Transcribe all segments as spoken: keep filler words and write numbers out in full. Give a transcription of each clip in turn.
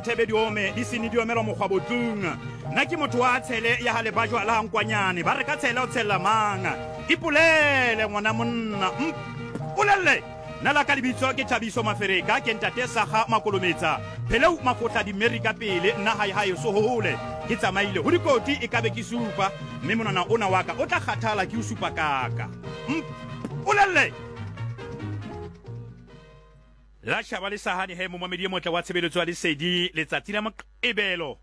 Thebe di ome di sene di omelwa mokgwabotlung. Nna ke motho wa tshele ya ha lebajwa la nkwanyane, ba re ka tshele o tshella mang? Ipolele ngwana monna, mpolelle. Nna la ka lebitso ke Thabiso Mafereka, ke ntate Saga Makolometsa, Pheleu Mafotla di Mary ka pele, nna hae hae so hole. Ke tsamaile ho dikoti e kabe ke supa, mme monwana ona wa ka o tla kgathala ke o supa kaka. Mpolelle. La tjhaba le sahane he momamedi e motle wa tshebeletso ya Lesedi letsatsi la Moqebelo.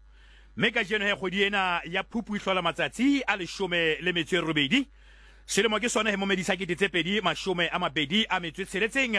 Mme kajeno he kgwedi ena ya Phupu e hlola matsatsi a leshome le metso e robedi. Selemo ke sona he momedi sa kete tse pedi mashome a mabedi a metso e tsheletseng.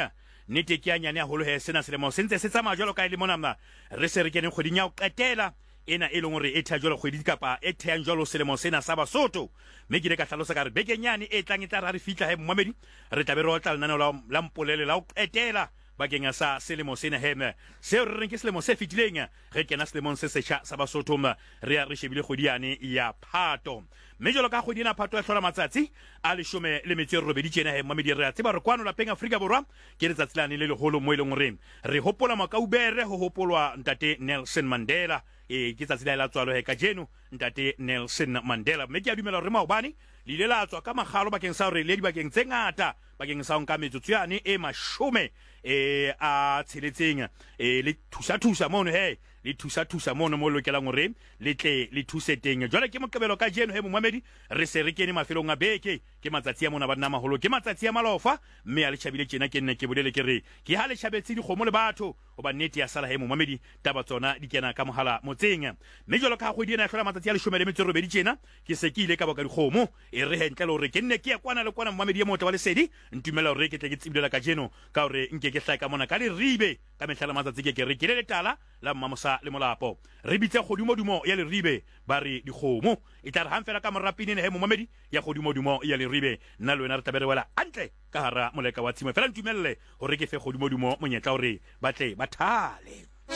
Nnete ke ya nyane haholo he sena selemo se ntse se tsamaya jwalo ka e le mona re se re keneng kgweding ya ho qetela ena e leng hore e thea jwalo kgwedi kapa e thehang jwalo selemo sena sa Basotho. Mme ke ile ka hlalosa ka re bekeng yane e tlang e tla re ha re fihla he momamedi re tla be re otla lenaneo la, la mpolele la ho qetela bakeng sa selemo sena he seo re reng ke selemo se fetileng re kena selemong se setjha sa Basotho re ya re shebile kgwedi yane ya Phato. Mme jwalo ka kgwedi ena Phato ya hlola matsatsi a leshome le metso e robedi tjena he momamedi re a tseba re kwano lapeng Afrika Borwa ke letsatsi lane le leholo mo e leng hore re hopola Makaubere ho hopolwa ntate Nelson Mandela. E ke tsatsi la la tswalo he kajeno ntate Nelson Mandela. Mme ke a dumela hore maobane le ile la tswa ka makgalo bakeng sa hore le dibakeng tse ngata bakeng sa ho nka metsotso yane e mashome e a tsheletseng e le thusa thusa mono he le thusa thusa mono mo lokelang hore le tle le thuse teng. Jwale ke Moqebelo kajeno he momamedi re se re kene mafelong a beke, ke matsatsi a mona banna maholo, ke matsatsi a malofa mme a le tjhabile tjena ke nne ke bolele ke re ke ha le tjhabetse dikgomo le batho hoba nnete ya sala he momamedi taba tsona di kena ka mohala motseng. Mme jwalo ka kgwedi ena ya hlola matsatsi a leshome le metso e robedi tjena ke se ke ile ka boka dikgomo e re hentle le hore ke nne ke ya kwana le kwana momamedi e motle wa Lesedi ntumela hore ke tle ke tsibilela kajeno ka hore nke ke hlae ka mona ka Leribe ka mehla le matsatsi ke ke re ke le letala la Mmamosa le Molapo re bitse kgodimodumo ya Leribe ba re dikgomo e tla re hang fela ka mora pinene he momamedi ya kgodimodumo ya Leribe nna le wena re tlabe re wela hantle ka hara moleka wa tshimo. Fela ntumelle hore ke fe kgodimodumo monyetla hore ba tle ba thale.